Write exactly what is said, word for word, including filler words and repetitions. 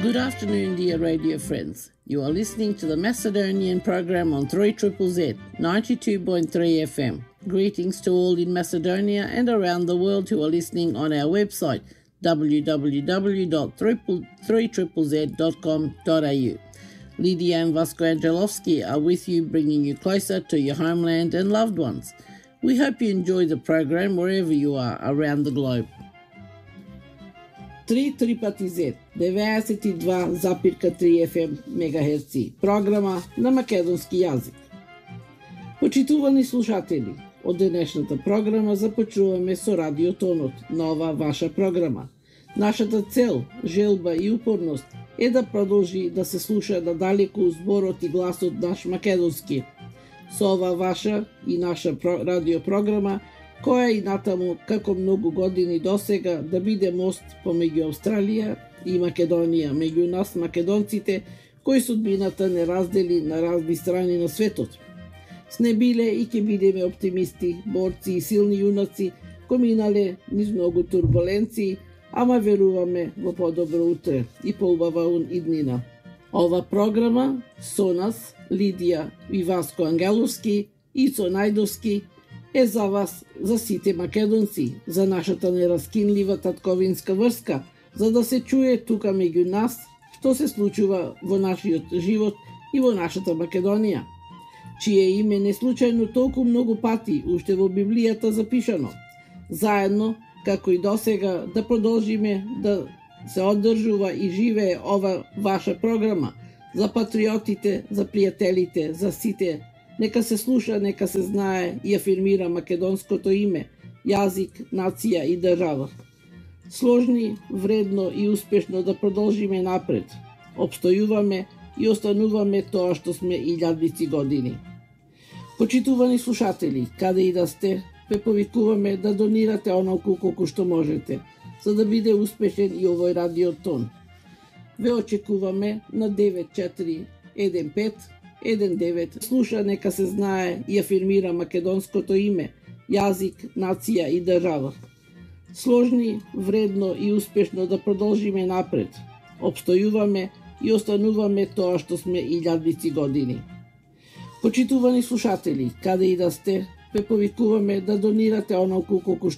Good afternoon, dear radio friends. You are listening to the Macedonian program on three Z Z Z, ninety-two point three F M. Greetings to all in Macedonia and around the world who are listening on our website, w w w dot three z z dot com dot a u. Lydia and Vasco Angelovski are with you, bringing you closer to your homeland and loved ones. We hope you enjoy the program wherever you are around the globe. три Z Z, деветдесет и два zarez tri F M мегахерци, програма на македонски јазик. Почитувани слушатели, од денешната програма започнуваме со радиотонот, нова ваша програма. Нашата цел, желба и упорност е да продолжи да се слуша надалеку зборот и гласот наш македонски. Со ова ваша и наша радиопрограма, која и натаму, како многу години досега, да биде мост помеѓу Австралија и Македонија, меѓу нас македонците, кои судбината не раздели на разни страни на светот. Сне биле и ќе бидеме оптимисти, борци и силни јунаци, кои минале низ многу турбуленции, ама веруваме во подобро утре и поубава иднина. Ова програма со нас, Лидија и Васко Ангеловски и со Најдовски, е за вас, за сите македонци, за нашата нераскинлива татковинска врска, за да се чуе тука меѓу нас што се случува во нашиот живот и во нашата Македонија, чие име не случајно толку многу пати уште во Библијата запишано. Заедно, како и досега, да продолжиме да се одржува и живее ова ваша програма за патриотите, за пријателите, за сите. Нека се слуша, нека се знае и афирмира македонското име, јазик, нација и држава. Сложни, вредно и успешно да продолжиме напред. Обстојуваме и остануваме тоа што сме илјадници години. Почитувани слушатели, каде и да сте, ве повикуваме да донирате онолку колку што можете, за да биде успешен и овој радиотон. Ве очекуваме на девет четири еден пет еден девет. Слуша, нека се знае и афирмира македонското име, јазик, нација и држава. Сложни, вредно и успешно да продолжиме напред. Обстојуваме и остануваме тоа што сме илјадници години. Почитувани слушатели, каде и да сте, ве повикуваме да донирате онолку колку што